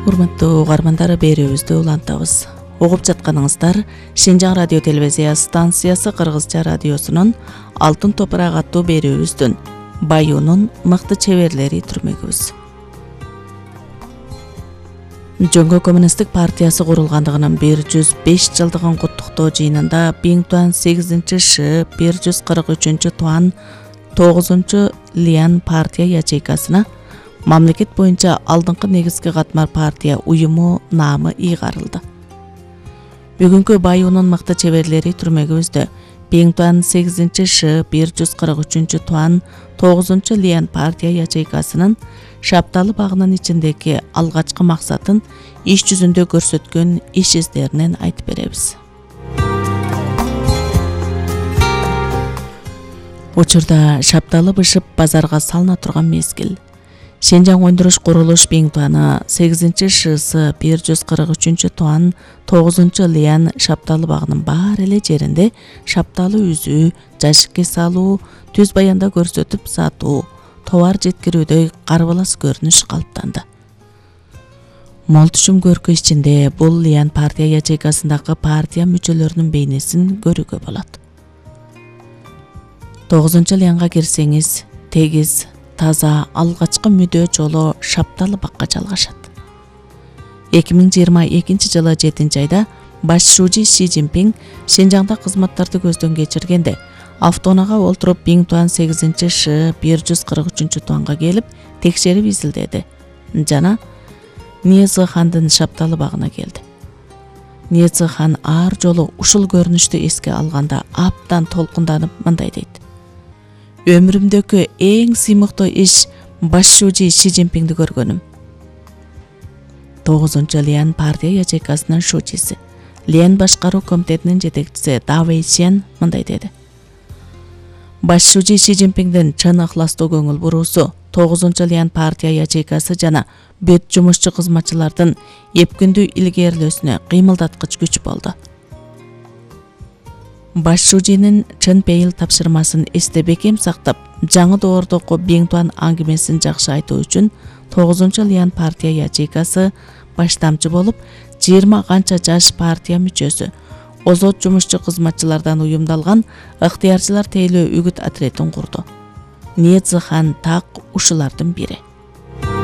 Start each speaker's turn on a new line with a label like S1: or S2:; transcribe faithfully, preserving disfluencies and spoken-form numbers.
S1: Урматтуу угармандар, берүүбүздү улантабыз. Угуп жатканыңыздар Шинжаң радио телевизия станциясы Кыргызча радиосунун Алтын топурак аттуу берүүбүздүн Баюунун мыкты чеберлери түрмөгүбүз. Жөнгө коммунисттик партиясы курулгандыгынын бир жүз беш жылдыгын куттуктоо жыйынында Биңтуан сегизинчи Ш бир жүз кырк үчүнчү Туан тогузунчу Лиан партия ячейкасына мамлекет боюнча алдыңкы негизги катмар партия уюму наамы ыйгарылды. Бүгүнкү Баюунун мыкты чеберлери түрмөгүбүздө Биңтуан сегизинчи Ш бир жүз кырк үчүнчү Туан тогузунчу Лиан партия ячейкасынын Шапталы багынын ичиндеги алгачкы максатын иш жүзүндө көрсөткөн иш издеринен айтып беребиз. Учурда Шапталы бышып базарга салына турган мезгил. Шинжаң өндүрүш курулуш Биңтуаны сегизинчи Шсы бир жүз кырк үчүнчү Туан тогузунчу Лиан Шапталы багынын баары эле жеринде шапталы үзүү, жашикке салуу, түз баянда көрсөтүп сатуу, товар жеткирүүдө карбалас көрүнүш калыптанды. Мол түшүм көркү ичинде бул Лиан партия ячейкасындагы партия мүчөлөрүнүн бейнесин көрүүгө болот. тогузунчу Лианга кирсеңиз, тегиз, таза, алгачкы мүдөө жолу Шапталы бакка жалгашат. эки миң жыйырма экинчи жылы жетинчи айда баш шужи Си Цзиньпин Шинжаңда кызматтарды көздөн кечиргенде автоунаага олтуруп Биңтуан сегизинчи Ш бир жүз кырк үчүнчү Туанга келип текшерип изилдеди жана Ниязы хандын Шапталы багына келди. Ниязы хан ар жолу ушул көрүнүштү эске алганда абдан толкунданып мындай дейт: Өмүрүмдөгү эң сыймыктуу иш баш шужи Си Цзиньпинди көргөнүм. тогузунчу Лиан партия ячейкасынын шужиси, Лиан башкаруу комитетинин жетекчиси Да Вэйсян мындай деди: Баш шужи Си Цзиньпиндин чын ыхластуу көңүл буруусу тогузунчу Лиан партия ячейкасы жана бүт жумушчу кызматчылардын эпкүндүү илгерилөөсүнө кыймылдаткыч күч болду. Баш шужинин чын пейил тапшырмасын эсте бекем сактап, жаңы доордогу Биңтуан аңгемесин жакшы айтуу үчүн тогузунчу Лиан партия ячейкасы баштамчы болуп, жыйырма канча жаш партия мүчөсү, озот жумушчу кызматчылардан уюмдалган ыктыярчылар тейлөө үгүт отретин курду. Ниязы хан так ушулардын бири.